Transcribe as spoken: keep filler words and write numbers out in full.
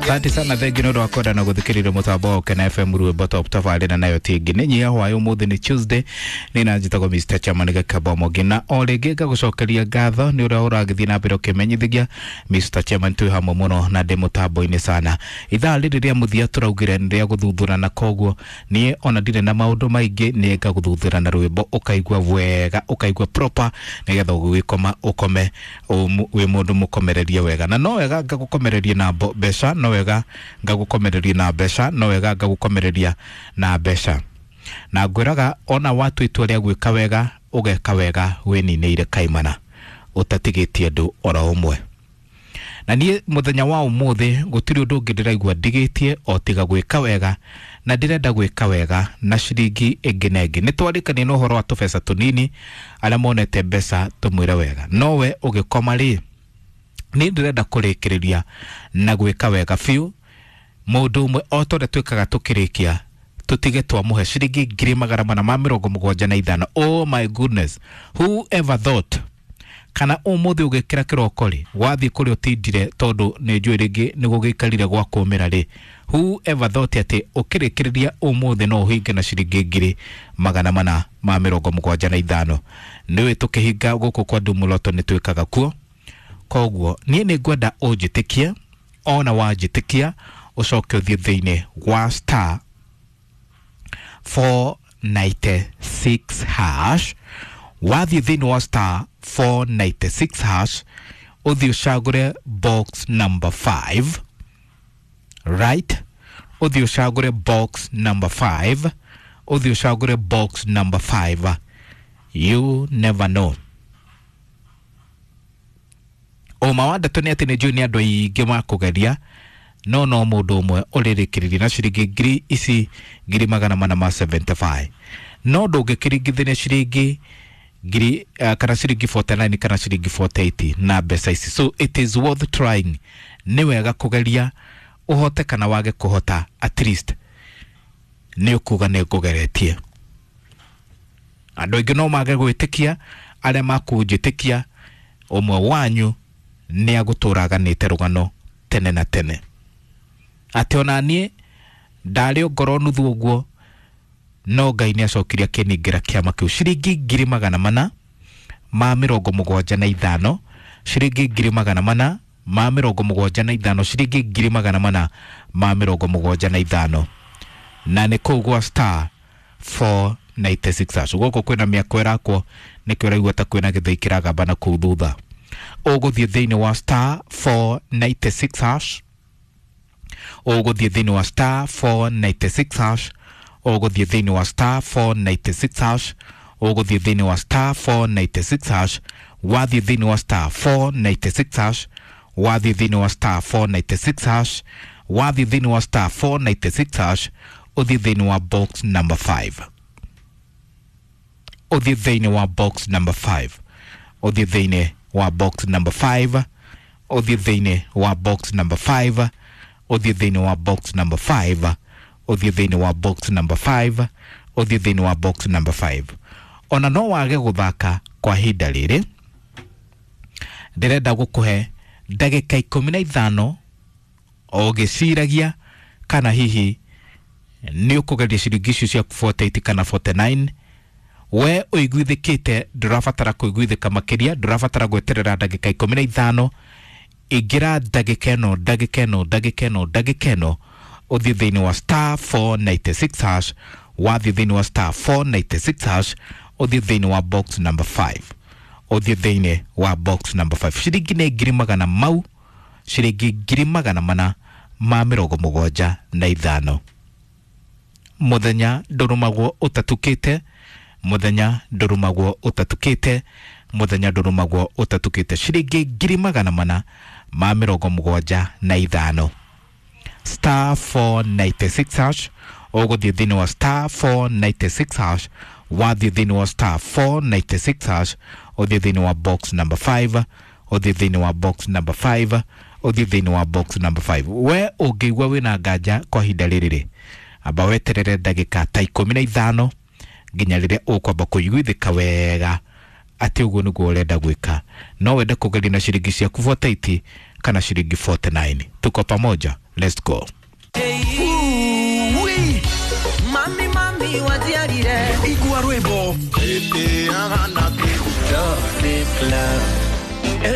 Asante sana, thengi nĩ ũndũ wa kwenda na gũthikĩrĩria mũtambo wa Ũkena F M rwĩmbo top tabarĩra nayo tingi nĩ nyia hwaĩ. Ũmũthĩ nĩ Tuesday, nĩ na njĩtagwo Mister Chairman Gakamba Mũngĩ, na o rĩngĩ ngagũcokeria ngatho nĩ ũrĩa ũragĩthiĩ na mbere ũkĩmenyithagia Mister Chairman twĩ hamwe mũno na ndĩ mũtambo-inĩ sana. Ithaa rĩrĩ rĩa mũthia tũraugire nĩ rĩa gũthuthura, na koguo niĩ ona ndirĩ na maũndũ maingĩ, nĩ ngagũthuthura na rwĩmbo ũkaigua wega, ũkaigua proper, nĩgetha ũgĩkoma ũkome wĩ mũndũ mũkomererie wega. Na no wega ngagũkomereria na mbeca, no wega ngagũkomereria na mbeca, no wega ngagũkomereria na mbeca. Na ngwĩraga ona watua itua rĩa gwĩka wega, ũgeka wega wĩninĩire kaimana, ũtatigĩtie andũ oro ũmwe. Na niĩ mũthenya wa ũmũthĩ gũtirĩ ũndũ ũngĩ ndĩraigua ndigĩtie o tiga gwĩka wega, na ndĩrenda gwĩka wega na ciringi ĩngĩ na ĩngĩ. Nĩ twarĩkania na ũhoro wa tũbeca tũnini, arĩa monete mbeca tũmwĩre wega. No we ũgĩkoma rĩ, niĩ ndĩrenda kũrĩkĩrĩria na gwĩka wega biũ. Mũndũ ũmwe o ta ũrĩa twĩkaga tũkĩrĩkia, tũtige twamũhe ciringi ngiri magana mana ma mĩrongo mũgwanja na ithano. Oh my goodness, who ever thought? Kana ũmũthĩ ũgĩkĩra kĩroko rĩ, wathiĩ kũrĩa ũtindire, tondũ nĩ njũĩ rĩngĩ nĩ gũgĩikarire gwa kũmĩra rĩ, who ever thought atĩ ũkĩrĩkĩrĩria ũmũthĩ no ũhinge na ciringi ngiri magana mana ma mĩrongo mũgwanja na ithano? Nĩũĩ tũkĩhinga gũkũ kwa Ndumuloto nĩ twĩkaga kuo. Koguo niĩ nĩ ngwenda ũnjĩtĩkie, ona wanjĩtĩkia ũcoke ũthiĩ thĩinĩ wa star four ninety six hash. Wathiĩ thĩinĩ wa star four ninety six hash, ũthiĩ ũcagũre box number five, right? Ũthiĩ ũcagũre box number five, ũthiĩ ũcagũre box number five. You never know. Ũma wa ndeto nĩ atĩ nĩ njũĩ nĩ andũ aingĩ makũgeria, no no mũndũ ũmwe ũrĩrĩkĩrĩria na ciringi ngiri ici ngiri magana mana ma seventy five. No ndũngĩkĩringithania ciringi ngiri, uh, kana ciringi forty nine kana ciringi forty eight na mbeca ici. So it is worth trying. Nĩ wega kũgeria, ũhote kana wage kũhota, at least nĩ ũkuga nĩ ngũgeretie. Andũ aingĩ no mage gwĩtĩkia, arĩa makũnjĩtĩkia ũmwe wanyu nĩ agũtũra aganĩte rũgano tene na tene. Atĩ ona niĩ ndarĩ o ngoro nuthu ũguo, no Ngai nĩ acokirie akĩningĩra kĩama kĩu ciringi ngiri magana mana ma mĩrongo mũgwanja na ithano, ciringi ngiri magana mana ma mĩrongo mũgwanja na ithano, ciringi ngiri magana mana ma mĩrongo mũgwanja na ithano. Na nĩ kũu gwa star four ninety six hash. Gũkũ kwĩna mĩako ĩrakwo, nĩkĩo ũraigua ta kwĩna gĩthĩi kĩragamba na kũu thutha. Ũgũthiĩ thĩinĩ wa star four ninety six hash, ũgũthiĩ thĩinĩ wa star four ninety six hash, ũgũthiĩ thĩinĩ wa star four ninety six hash, ũgũthiĩ thĩinĩ wa star four ninety six hash. Wathiĩ thĩinĩ wa star four ninety six hash, wathiĩ thĩinĩ wa star four ninety six hash, wathiĩ thĩinĩ wa star four ninety six hash, ũthiĩ thĩinĩ wa box number five, ũthiĩ thĩinĩ wa box number five, ũthiĩ thĩinĩ wa box number five, ũthiĩ thĩinĩ wa box number five, ũthiĩ thĩinĩ wa box number five, ũthiĩ thĩinĩ wa box number five, ũthiĩ thĩinĩ wa box number five. Ona no wage gũthaka kwa ihinda rĩrĩ, ndĩrenda gũkũhe ndagĩka ikũmi na ithano ũgĩciragia kana hihi nĩ ũkũgeria ciringi icio cia forty eight kana forty nine. We ũiguithĩkĩte, ndũrabatara kũiguithĩka makĩria, ndũrabatara gweterera ndagĩka ikũmi na ithano. Ingĩra ndagĩka ĩno, ndagĩka ĩno, ndagĩka ĩno, ndagĩka ĩno, ũthiĩ thĩinĩ wa star four ninety six hash. Wathiĩ thĩinĩ wa star four ninety six hash, ũthiĩ thĩinĩ wa box number five, ũthiĩ thĩinĩ wa box number five. Ciringi nĩ ngiri magana mau, ciringi ngiri magana mana ma mĩrongo mũgwanja na ithano. Mũthenya ndũrũmagwo ũtatukĩte, mũthenya ndũrũmagwo ũtatukĩte, mũthenya ndũrũmagwo ũtatukĩte. Ciringi ngiri magana mana ma mĩrongo mũgwanja na ithano. Star four ninety six hash, ũgũthiĩ thĩinĩ wa star four ninety six hash. Wathiĩ thĩinĩ wa star four ninety six hash, ũthiĩ thĩinĩ wa box number five, ũthiĩ thĩinĩ wa box number five, ũthiĩ thĩinĩ wa box number five. We ũngĩigua wĩna nganja kwa ihinda rĩrĩ rĩ, amba weterere ndagĩka ta ikũmi na ithano nginya rĩrĩa ũkwamba kũiguithĩka wega atĩ ũguo nĩguo ũrenda gwĩka. No wende kũgeria na ciringi ciaku forty eight kana ciringi forty nine. Tuko pamoja. Let's go. Ui, Mami, mami, wajiarire. Igua rwimbo. Love.